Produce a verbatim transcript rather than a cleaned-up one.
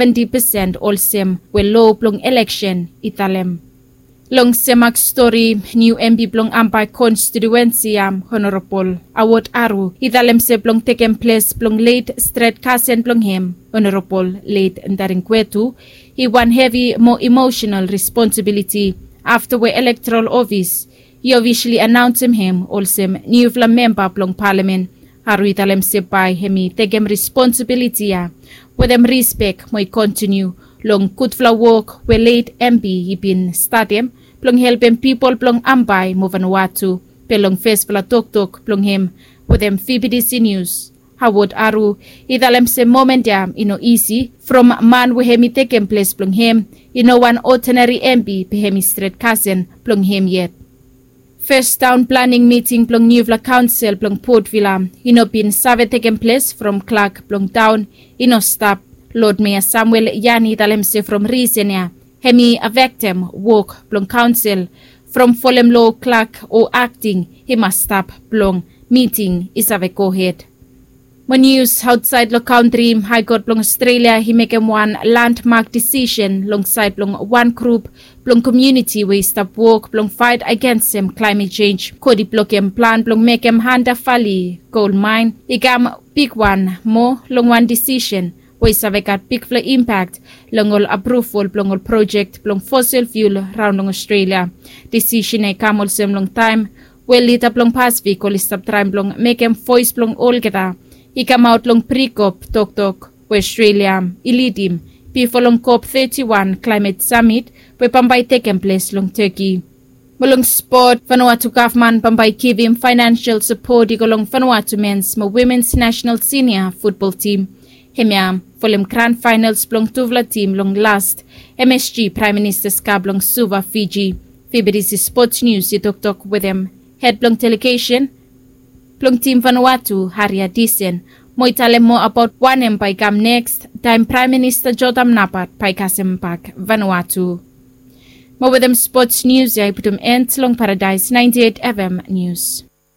Seventy pesen olsem we lo blong eleksen i talem. Long semak stori, niu empi blong Ambae konstituensi ya, Honorabol Awod Aru, i talem se blong tekem ples blong let stret kasen blong hem, Honorabol let Ndaringwetu, i wan hevi mo emosenal responsibiliti afta we elektoral ofis i ofisali anaonsem hem olsem niufala memba blong palamen. Aru i talem se bae hem i tekem responsibiliti ya wetem rispek mo i kontiniu long gudfala wok we let empi i bin statem blong helpem pipol blong Ambae mo Vanuatu. Be long fesfala toktok blong hem wetem VBTC Nius, Awod Aru i talem se momen ya i no isi from man we hem i tekem ples blong hem i no wan odenari empi, be hem i stret kasen blong hem yet. Fes taon planing miting blong niufala kaonsel blong Port Vila i no bin save tekem ples from klak blong taon i no stap. Lod Meya Samuel Yani i talem se from risen ya hem i afektem wok blong kaonsel from folem lo klak o akting i mas stap blong miting i save gohed. Mo nius aotsaed long kantri, Haekot blong Australia i mekem wan landmak disisen long saed blong wan grup blong komuniti we i stap wok blong faet agensem klaemet jenj. Kot i blokem plan blong mekem Hunter Valley gol maen i kam bigwan moa long wan disisen we i save gat bigfala impak long ol apruvol blong ol projek blong fosil fiul raon long Australia. Disisen ya i kam olsem long taem we lida blong Pasifik oli stap traem blong mekem voes blong olgeta i kamaot long pri-kop toktok we Australia i lidim bifo long kop teti wan klaemet samit we bambae i tekem ples long Teki. Mo long spot, Vanuatu gavman bambae i givim faenensel sapot i go long Vanuatu mens mo wimens nasenal sinia futbol tim. Hemia folem gran faenels blong tufala tim long las MSG Praem Minista Ska blong Suva, Fiji. VBTC Spots Nius i toktok wetem hed blong delegesen blong tim Vanuatu, Haria Disen, mo i talem moa abaot wanem bae i kam neks taem Praem Minista Jotam Napat bae i kasem bak Vanuatu. Mo wetem spots nius ya i putum en long Paradaes ninety eight FM Nius.